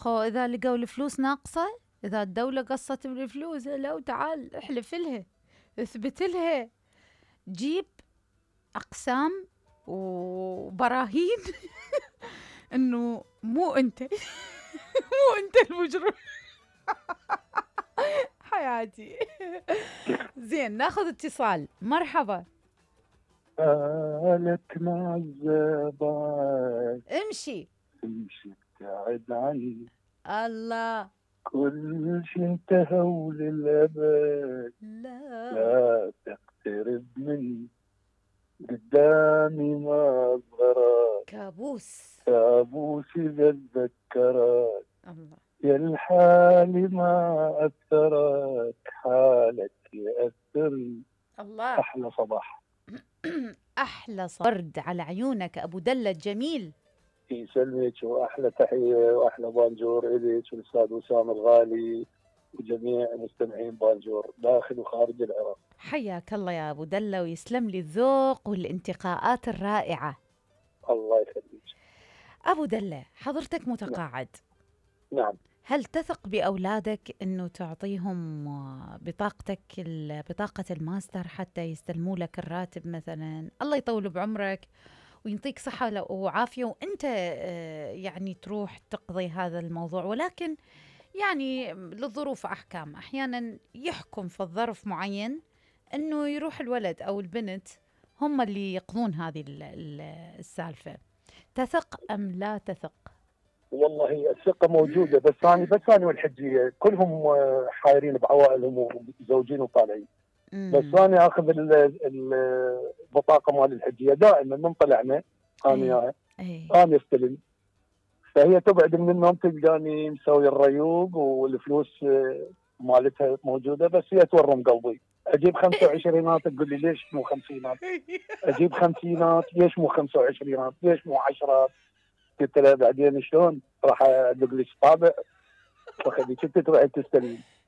خو إذا لقوا الفلوس ناقصة، إذا الدولة قصت بالفلوس، لو تعال احلف لها، اثبت لها، جيب أقسام وبراهين إنه مو أنت مو أنت المجرم. حياتي. زين، ناخذ اتصال. مرحبا. قالت معذبة امشي ابتعد عني، الله. كل شي انتهى وللأبد، لا لا تقترب مني، قدامي ما أصغرك، كابوس. كابوس إذا تذكرك، الله. يا الحالي ما أثرك، حالك يأثرني. الله. أحلى صباح. أحلى ورد على عيونك أبو دلة الجميل. يسلمك، واحلى تحيه واحلى بانجور اليك والاستاذ وسام الغالي وجميع مستمعين بانجور داخل وخارج العراق. حياك الله يا أبو دلة، ويسلم لي الذوق والانتقاءات الرائعة. الله يخليك. أبو دلة، حضرتك متقاعد. نعم. هل تثق بأولادك أنه تعطيهم بطاقة الماستر حتى يستلموا لك الراتب مثلا؟ الله يطول بعمرك ويعطيك صحة وعافية، وأنت يعني تروح تقضي هذا الموضوع، ولكن يعني للظروف أحكام، أحيانا يحكم في الظرف معين أنه يروح الولد أو البنت هم اللي يقضون هذه السالفة. تثق أم لا تثق؟ والله الثقة موجودة، بس أنا والحجية كلهم حايرين بعوائلهم وزوجين وطالعين. بس أنا أخذ البطاقة مال الحجية دائما من طلعنا أنا أنا استلم، فهي تبعد من النوم تلقاني مسوي الريوق والفلوس مالتها موجودة، بس هي تورم قلبي. أجيب 25 تقول لي ليش مو 50؟ أجيب 50 ليش مو 25؟ ليش مو 10؟ قلت لها بعدين شلون راح أدق لك طابع وخليك انت تروحي تستلمين.